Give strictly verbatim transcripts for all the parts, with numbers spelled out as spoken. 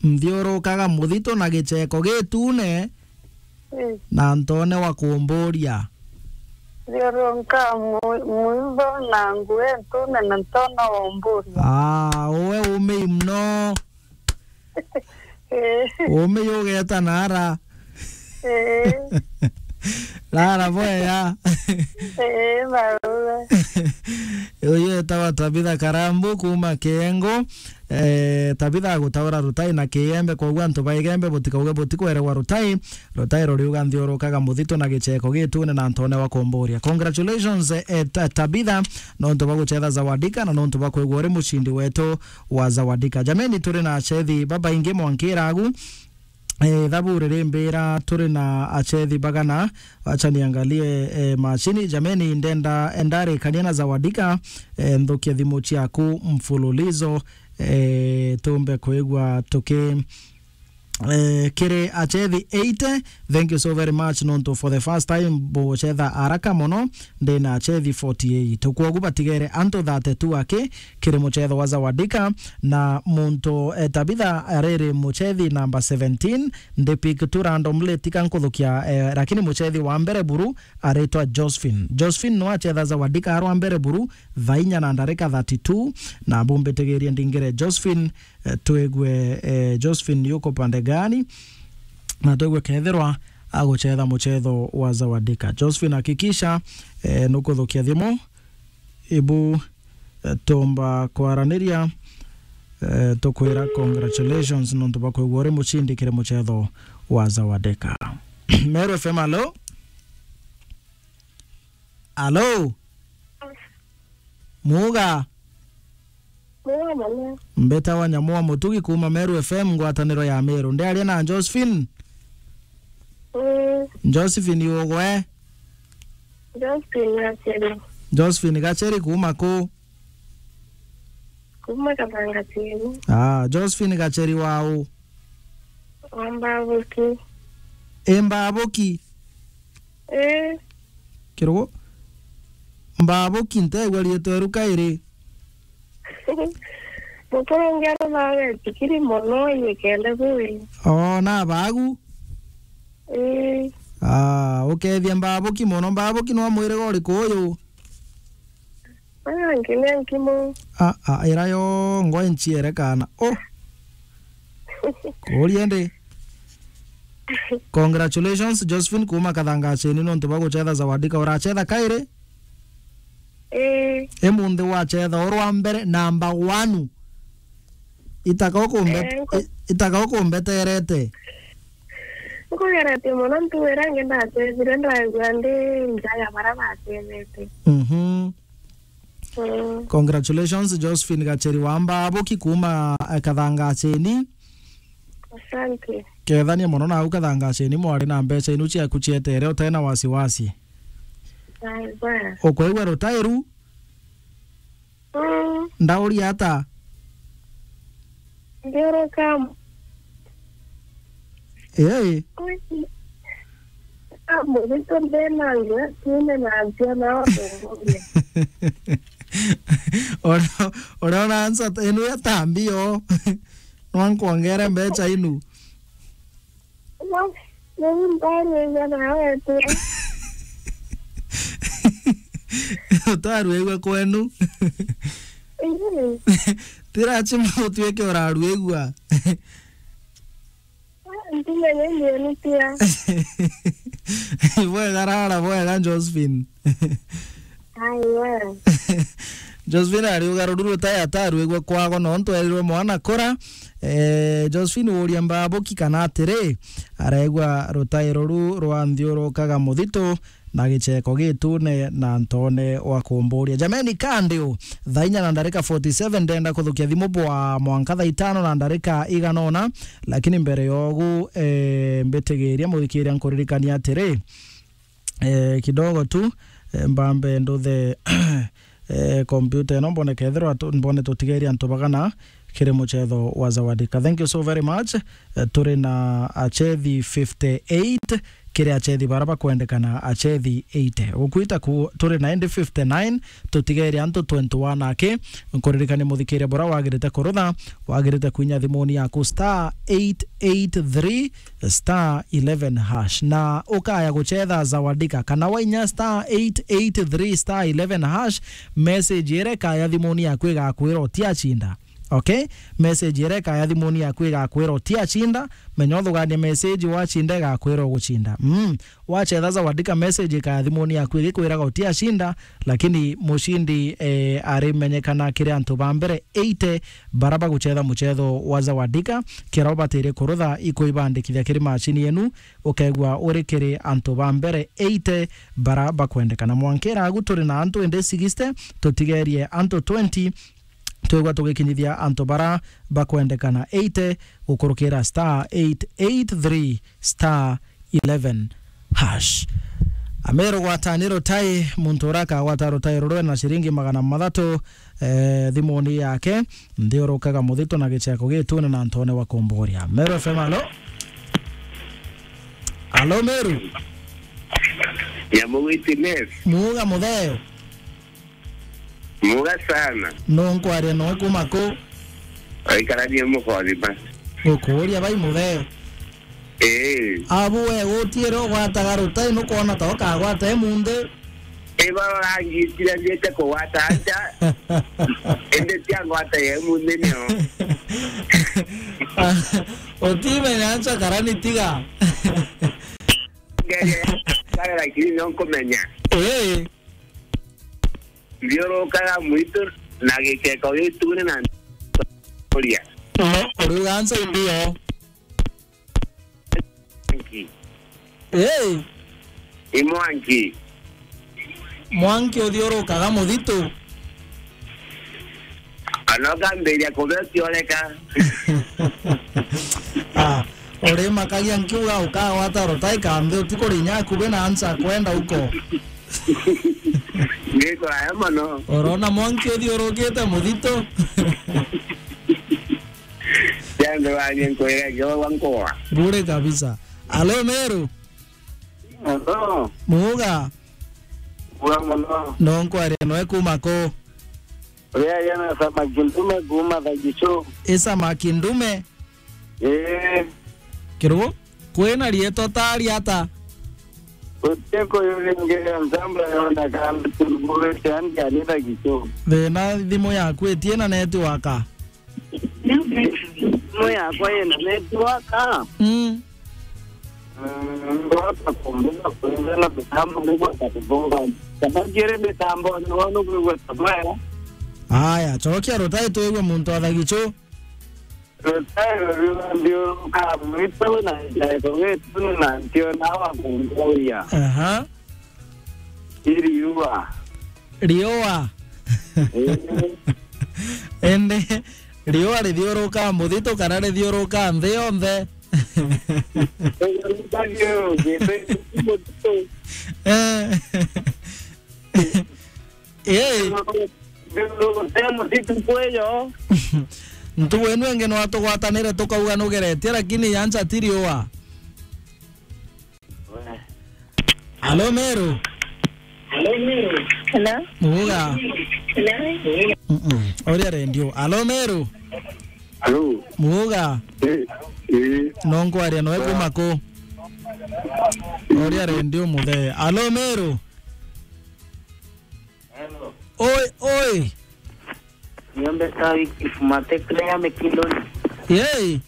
Nthiurukaga muthito na gicheko gitune, eh, na ntone wa kumburia. Nthiurukaga mu-, muitho na nguo intune na ntone wa umburia. Ah, uwe umei mno. Eh. Umei ugeta nara. Eh. Rara bwega. Eh, baba. Uyu etawa Tabitha Karambu kuma Kiengo. Eh, Tabitha agutaura Rutai na Kiembe, koguo antu ba Igembe butikauge butikwerewa Rutai. Rutai ruriuga nthiurukaga muthito na gicheko gitune na ntone wa kumburia. Congratulations, eh, Ta-, Tabitha, nontu bwa guchetha Zawadika na nontu bwa kwigua uri mucindi wetu wa Zawadika. Jameni, turi na achethi babaingi mwankira agu. Eh, thabu ririmbira turi na achethi bagana. Acha niangalie, eh, machini. Jameni, ndenda, ndarikania na Zawadika, eh, nthukia thimu ciaku mfululizo, eh, tumbe kwigua tuki, eh, kiri achethi eighty. Thank you so very much nontu for the first time buchetha haraka mono. Ndina achethi forty-eight. Kwogu batigere antu thirty-two aki kiri muchetho wa Zawadika, na muntu, eh, Tabitha ariri muchethi namba seventeen, ndi pick tu randomly, tika nkuthukia, eh, lakini muchethi wa mbere buru aritwa Josephine. Josephine no achetha Zawadika arwa mbere buru, thaa inya na ndarika thirty-two, na bumbitigirie ndingire Josephine, eh, twigue, eh, Josephine yuko pande gani, na twigue kethirwa aguchetha muchetho wa Zawadika. Josephine, hakikisha, eh, nukuthukia thimu, ibu, eh, tumba kwaraniria, eh, tukwira congratulations nontu bwa kwigua uri mucindi kiri muchetho wa Zawadika. Meru F M, alo? Alo? Muga? Muga mono. Mbetawa Nyamua Mutugi kuma Meru F M, ngwataniro ya Meru. Ndiaria na Josephine? Mm. Josephine ugwe? Josephine Gacheri. Josephine Gacheri kuma ku? Kuma Kathanga Chini. Ah, Josephine Gacheri wau? Wa Mbabuki. E Mbabuki? Eh. Kirugo? Mbabuki ntegwa rietwa eru kairi. Mukuru ungi arumaga etikiri mono, inyikende bui. Oh, na bagu? Ii. Ah, ukethia Mbabuki mono. Mbabuki no mwiriga uriku uyu? Ah, nginya nkimu. Ah, ah, ira yo ngwa inciere kana. Oh. Kuria ndi. Congratulations, Josephine kuma Kathangacheni, nontu bwa guchetha Zawadika. Urachetha kairi? Ii. Imunthi wachetha urwa mbere, number one. Itaka ukumbet-, Eh, nku- i-, itaka ukumbeterete. Nkugerete mono, ntuwira ngi ndachethire, ndaigua ndi nja ya bara bachethete. Mhm. Mm. Congratulations, Josephine Gacheri wa Mbabuki kuma, eh, Kathangacheni. Asante. Kethania mono nau Kathangacheni, mwari na mbecha inu ciaku cietere utena wasiwasi. Bye, bye. Ukwigua rutairu? Mm. Ndauria ata? Ndiuruka. Ii. Ui. Amurito ndena ngia, tiene na nzia na otongoria. Ora, ora ona ansa inu ya tambio. Nwankwongere mbecha inu. No, no, ndarwigua nawe tu. Utarwigua kwenu. Ii. Ti lazima utuike urarwigua. Ah, ntimenye ndienitia. Bwega rara, bwega Josephine. Ai, we. Josephine ari ugaruru rutai atarwigua kwago, nontu erirwe mwana kura. Eh, Josephine uria Mbabuki kana atiri, aregwa rutairo ru rwa nthiurukaga muthito na gicheko gitune na ntone wa kumburia. Jameni, kandi u, thaa inya na ndarika forty seven, ndenda kuthukia thimu bwa mwanka thaa itano na ndarika igana ona, lakini mbere yogu, eh, mbitigiria muthikiria nkuririkania atiri, eh, kidogo tu, eh, mbambe nduthe, eh, kompyuta ino mbone kethirwa tu-, mbone tutigeria antu bagana kiri muchetho wa Zawadika. Thank you so very much. Eh, turi na achethi fifty-eight kiri achethi bara bakwendekana, achethi eighty. Gukwita ku, turi na indi fifty-nine, tutigerie antu twenty-one aki. Nkuririkanie muthikiria bura wagirite kurutha, wagirite kwinya thimuni yaku star eight eight three star eleven hash. Na ukaya guchetha Zawadika, kana wainya star eight eight three star eleven hash, message iria ikaya thimuni yaku igakwira utiachinda. Okay? Message iria ikaya thimuni yaku igakwira utiachinda, menya uthuganie message, wacinda igakwira ugucinda. Mm. Wachetha Zawadika, message ikaya thimuni yaku igikwiraga utiachinda, lakini mucindi, eh, arimenyekana kiri antu ba mbere eighty bara baguchetha muchetho wa Zawadika. Kiria ubatirie kurutha ikuibandikithia kiri machini yenu, ukegua uri kiri antu ba mbere eighty bara bakwendekana. Mwankira agu turi na antu indi sixty, tutigerie antu twenty, twigua tugikinyithia antu bara bakwendekana eighty gukurukira star eight eight three star eleven hash. Ameru, gwatani rutai, muntu uria akagwata rutai rurwe na ciringi magana mathatu, eh, thimuni yake, nthiurukaga muthito na gicheko gitune na ntone wa kumburia. Meru F M, alo? Alo, Meru? Nyamu witness. Muuga mutheo. Muga sana. No nkwaria no kuma ku? Aikarania mukothima. Gukuuria bai mutheo. Ee. Abu we gutiire ugwataga rutai, nukwona ta ukagwata emunthi? Iba rangi itiranite kugwata aja. Indi tia ngwata ya emunthi nio. Utimenya ncha karani tiga. Ngeria, lakini nio nkumenya. Ee. Nthiurukaga mwitu na gikeko gitune na nturia. No, uriuga nsa imbio. Mwanki. Hey! I mwanki. Mwanki uthiurukaga muthitu? Anoka mbiria kubea utioneka. Ah, urimakagia nkiuga ukagwata rutai kambi utikurinya akube na ansa kwenda uko. Ngiko aya mono. Urona mwanki uthiurukite muthito? Jambe wanye nkwira ngewa wa nkoa. Bure kabisa. Alo, Meru? Alo. Muga? Muga mono. No nkwaria noe kuma ku? Uria yana samaki ndume kuma Thagichu. Isa maki ndume? Ee. Kirugo? Kwina rietwa tari ata? Uteko yuringira nzamba yona kana turugurite andi anitha gicho. Thina thimu yaku itie na network? Thimu yakwa ina network? Mm. Mm, ngwata kumbuka kuringana mitambo nigwata kuthunga. Kana ngiri mitambo ni wona kwigua tabaya. Aya, chokia rutai twigue muntu atha gicho. Rutai ruriwa nthiuruka mwitu na njaeko gitu na ntiona wa kunguria. Aha. Iriua. Riua. Indi riua rithiuruka muthitu kana rithiuruka nthi yonthe? Eh. Eh. Muthitu kweyo. Ntugu inu ingi no tugwatanire tukauga nugeretie, lakini yancha ti riua. Alo, Meru? Hello? Muga? Mm-mm. Oria redio. Alo, Meru? Alo? Muga? Eh, eh. No nkwaria noe kuma ku? Oria redio muthee. Alo, Meru? Hello. Oi, oi. Niombe sawi kifumatekre ya Mekindori. Yei.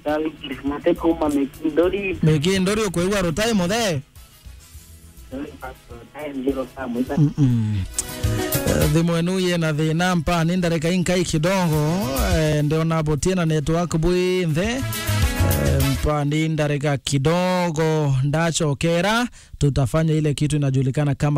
Sawi kifumatekre uma Mekindori. Mekindori, ukwigua rutai muthee? Sorry, pastor, time zero ka mwita. Mm-mm. Eh, thimu enu yina thina, mpani ndarika inkai kidogo. Eh, ndiona butie na network bwi nthe. Eh, mpani ndarika kidogo, ndachokera. Tutafanya ile kitu inajulikana kama